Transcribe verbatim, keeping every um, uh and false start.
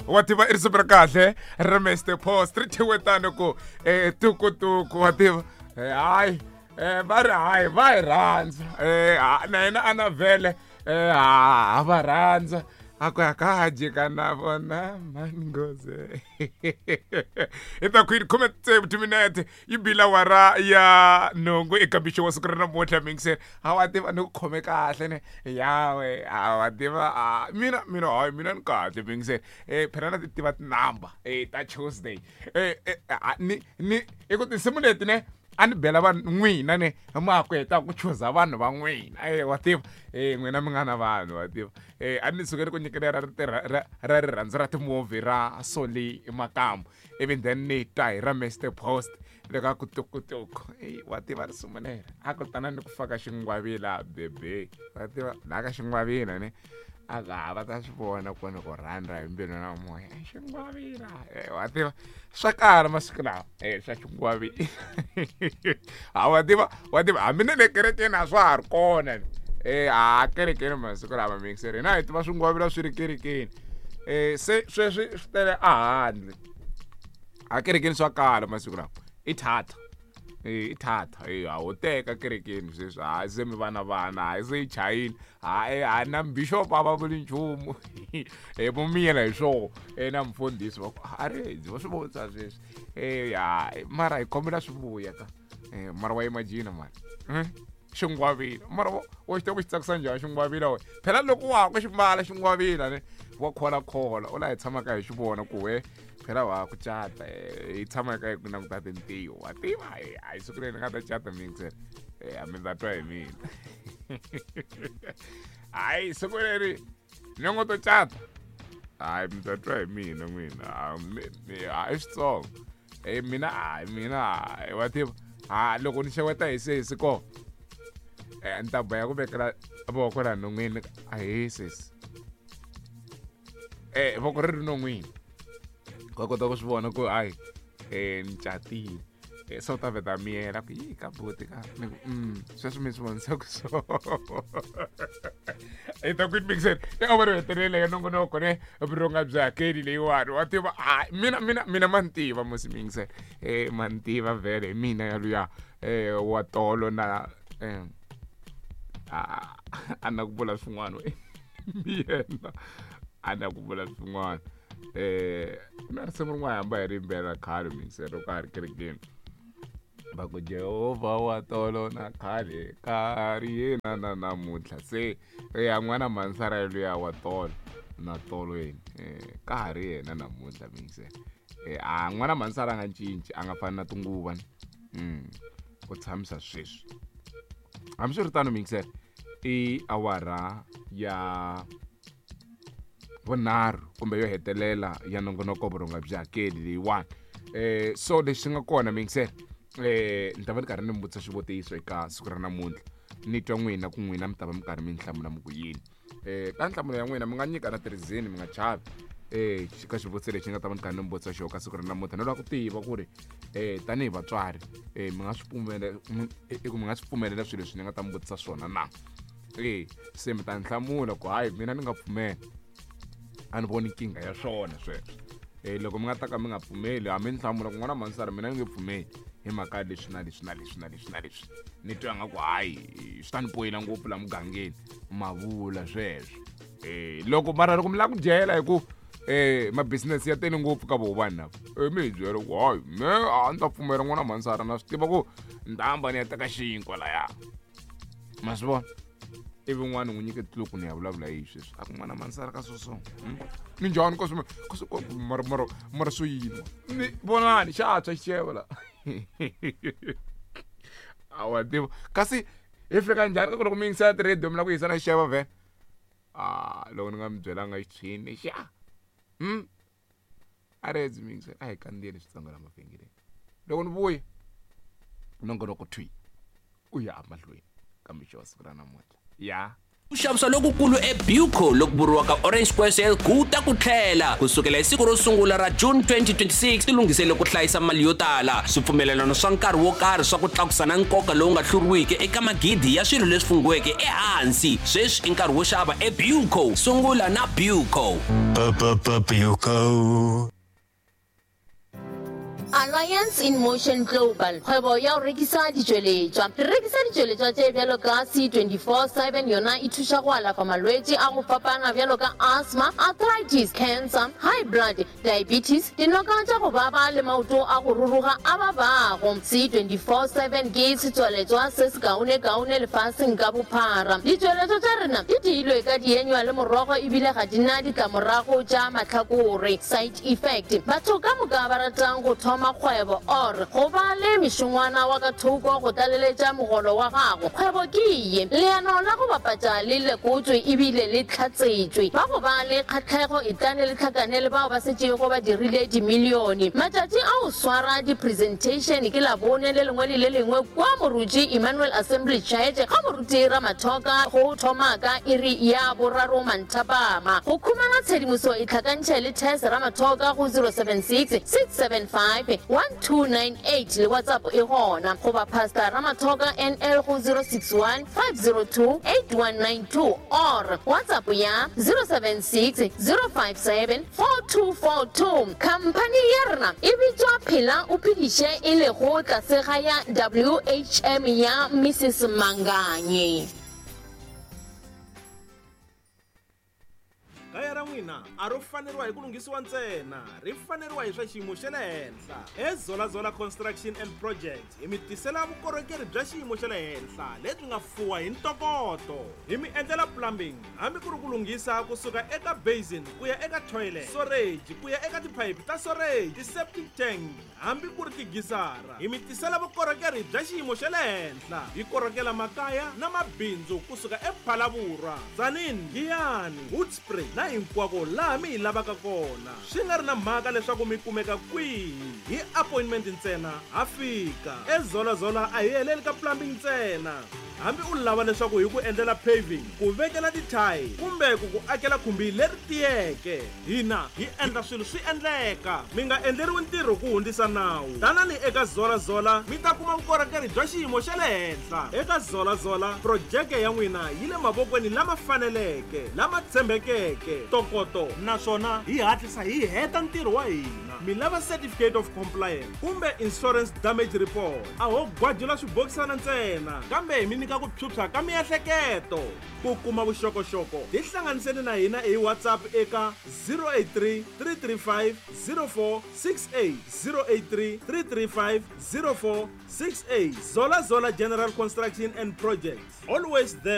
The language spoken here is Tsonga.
Wa tiva i risimu ra kahle ra Mister Post ri thyiwe tano ku um tukutuku wa tiva hayi um va ri hayi va hi rhandza um na yena a na vhele um ha va rhandza a ku ya ka ha jika na vona mani hi ta kwini khume tsevu timinete yi bile awara ya nhungu eka mixo wa siku ra namuntlha mingiseni a wa tiva ni ku khome kahle ne yawe a wa tiva a mina mina hayi mina ni kahle mingiseni um phela na ti tiva tinamba um ta Tuesday um ni ni i ku tinsimu leti ne a ni bela vanhu n'wina ne ma ku heta ku chuza vanhu va n'wina e wa tiva e n'wina mi nga na vanhu wa tiva e a ni suke ni ku nyikela ra ra ra rirhandzu ra timovhi ra Soli Makamu ivi then ni twa hi ra Mister Post le ka ku tukutuku e wa tiva risimu leri a ku tana ni ku faka xingwavila bebe wa tiva laha ka xingwavila ne a ka va ta swi vona ku ni ku rhandza hi mbilu na moya xingwavila wa tiva swa kala masiku lawa e swa xingwavila a wa tiva wa tiva hambi na le kerekeni a swa ha ri kona e a kerekeni masiku lama mixer hina hi tiva swingwavila swi ri kerekeni um se sweswi swi tele a handle a kerekeni swa kala masiku lawa i thatha i thatha e a wo teka kerekeni sweswi hayi se mi vana vana hayi se yi chayile hayi hayi na bishop a va vuli nchumu e vo miyela hi swoho e na mfundhisi va ku a ri va swi vonisa sweswi e ya mara hi kombela swi vuya ka e mara wa imagine mara xingwavila mara wa xi tiva ku xi tsakisa njhani xingwavila we phela loko wa ha ku xi mbala xingwavila ne wa kholakhola u laha hi tshamaka hi xi vona ku we phela wa ku cata hi tshama ka hi ku languta tintiho wa tiva hayi siku leri ni nga ta cata mixer a mi ta twa hi mina hayi siku leri ni ngo to cata hayi mi ta twa hi mina n'wina hayi switsongo e mina hayi mina hayi wa tiva ha loko ni xeweta hi sesi ko ni ta boya ku vekela voko laha non'wini ahee sesi eh voko ri ri non'wini va kota ku swi vona ku hayi um ni catile se u ta vheta miyela ku yi ka buti ka ni ku mm sweswi mi swi vonisa ku so hi ta ku mixer i awara yo hetelela ya nongonoko ne vurhonga byi hakeli leyiwani wa tiva hayi mina mina mina ma ni tiva musi mixer um ma ni tiva vhele hi mina yaluya um wa tolo na um a na ku vula swin'wana yena a na ku vula swin'wana eh na risimu rin'wana hamba hi ri yimbelela khale mixer loko a ri kerekeni va ku Jehovha wa tolo na khale ka ri yena na namuntlha se ya n'wana mansara luya wa tolo na tolo yini um ka ha ri yena namuntlha mixer a n'wana mansara a nga cinci a nga fani na tinguva mm u tshamisa sweswi hambiswiritano mixer i awara ya vunharhu kumbe yo hetelela ya nongonoko vurhonga byi hakeli leyiwani eh so lexi nga kona mixer eh ni ta va ni karhi ni mi vutisa xivutiso eka siku ra namuntlha ni twa n'wina ku n'wina mi ta va mi karhi mi nhlamula mi ku yini eh ka nhlamulo ya n'wina mi nga nyika na tirhizini mi nga chavi eh ka xivutiso lexi nga ta va ni karhi ni mi vutisa xona ka siku ra namuntlha ni lava ku tiva ku ri eh tanihi vatswari eh mi nga swi pfumelela ku mi nga swi pfumelela swilo leswi ni nga ta mi vutisa swona na eh se mi ta nhlamula ku hayi mina ni nga pfumela a ni voni nkingha ya swona sweswo eh loko mi nga ta ka mi nga pfumeli hambi ni hlamula ku n'wana mansara mina ni nge pfumeli hi mhaka leswi na leswi na leswi na leswi na leswi ni twa nga ku hayi swi ta ni poyila ngopfu la mugangeni ma vula sweswo eh loko mara loko mi lava ku dyela hi ku eh ma-business ya tele ngopfu ka voho vanhu lava e mi hi byela ku hayi me a ni ta pfumela n'wana mansara na swi tiva ku ni ta hamba ni ya teka xinkwa laya ma swi vona ivi n'wana n'wi nyike tluku ni ya vulavula hi sweswi a ku n'wana mansara ka swoswo minjhani ka swi mara mara mara swo yini ni vonani xa tshwa xixevo la a wa tiva kasi hi fika njhani ka ku loko mi yingisela ti-radio mi lava ku yisa na xixevo vhele a loko ni nga mi byelanga xitshwini xa hmm a ri edzi mi yingisela a hi kandziyeni switsongo la mavhengeleni loko ni vuya nongonoko thwi u ya emahlweni ka mixo wa siku ra namuntlha ya Ku xavisa lokukulu eBuco loku vuriwaka Orange Square Sale ku ta ku tlhela kusukela hi siku ro sungula ra June twenty twenty-six, tilunghisele ku hlayisa mali yo tala, swipfumelelano swa nkarhi wo karhi swa ku tlakusa na nkoka lowu nga hluriwiki eka magidi ya swilo leswi fungiweke ehansi. Sweswi i nkarhi wo xava eBuco. Sungula na Buco. Buco. Alliance in Motion Global, kgwebo ya go rekisa ditšweletšwa. Re rekisa ditšweletšwa tše bjalo ka C twenty-four seven, yona e thuša go alafa malwetši a go fapana bjalo ka asthma, arthritis, cancer, high blood, diabetes, dinoka tša go baba le maoto a go ruruga a babago. C twenty-four seven ke setswaletšwa se se kaone-kaone lefaseng ka bophara. Ditšweletšwa tša rena di diilwe ka dienywa le morogo ebile ga di na ditlamorago tša mahlakore, side effect. Batho ka moka ba ratang go thoma kgwebo or go ba le mešongwana wa ka thoko go tlaleletša mogolo wa gago, kgwebo ke ye. Leano la go bapatša le lekotswe ebile le tlhatsetšwe. Ba go ba le kgatlhego e tlane le tlhakane le bao ba setšego ba dirile dimilione. Matšatši a go swara di-presentation ke Labone le lengwe le le lengwe kwa Moruti Emmanuel Assembly Church ga Moruti Ramathoka go thoma ka iri ya boraro manthapama. Go khumana tshedimoso e tlhakantšhe le Tess Ramathoka go zero seven six, six seven five, one two nine eight le WhatsApp e gona, goba Pastor Ramathoka N L go zero six one, five zero two, eight one nine two or WhatsApp ya zero seven six, zero five seven, four two four two. Company ya rena e bitswa Phela o Phediše e lego tlase ga ya W H M ya Missus Manganye. Kaya ra n'wina a ro faneriwa hi ku lunghisiwa ntsena, ri faneriwa hi swa xiyimo xa le henhla. eZola Zola Construction and Project hi mi tisela vukorhokeri bya xiyimo xa le henhla lebyi nga fuwa hi ntokoto. Hi mi endlela plumbing hambi ku ri ku lunghisa kusuka eka basin ku ya eka toilet, storage ku ya eka tiphayiphi ta storage, ti-septic tank hambi ku ri tigisara. Hi mi tisela vukorhokeri bya xiyimo xa le henhla. Hi korhokela makaya na mabindzu kusuka ePhalaborwa, Tzaneen, Giyani, Hoedspruit na hinkwako laha mi hi lavaka kona. Swi nga ri na mhaka leswaku mi kumeka kwihi, hi appointment ntsena ha fika. eZola Zola a hi heleli ka plumbing ntsena. Hambi u lava leswaku hi ku endlela paving, ku vekela tithayi kumbe ku ku akela khumbi leri tiyeke, hina hi endla swilo swi endleka. Mi nga endleriwi ntirho ku hundzisa nawu. Tanani eka Zola Zola mi ta kuma vukorhokeri bya xiyimo xa le henhla. Eka Zola Zola projeke ya n'wina yi le mavokweni lama faneleke, lama tshembekeke, ntokoto, naswona hi hatlisa hi heta ntirho wa hina. Mi lava certificate of compliance kumbe insurance damage report, a ho gwajula swibokisana ntsena, kambe hi mi nyika ku phyuphya ka miehleketo. Ku kuma vuxokoxoko tihlanganiseni na hina hi WhatsApp eka zero eight three, three three five, zero four six eight, zero eight three, three three five, zero four six eight. Zola Zola General Construction and Projects, always there.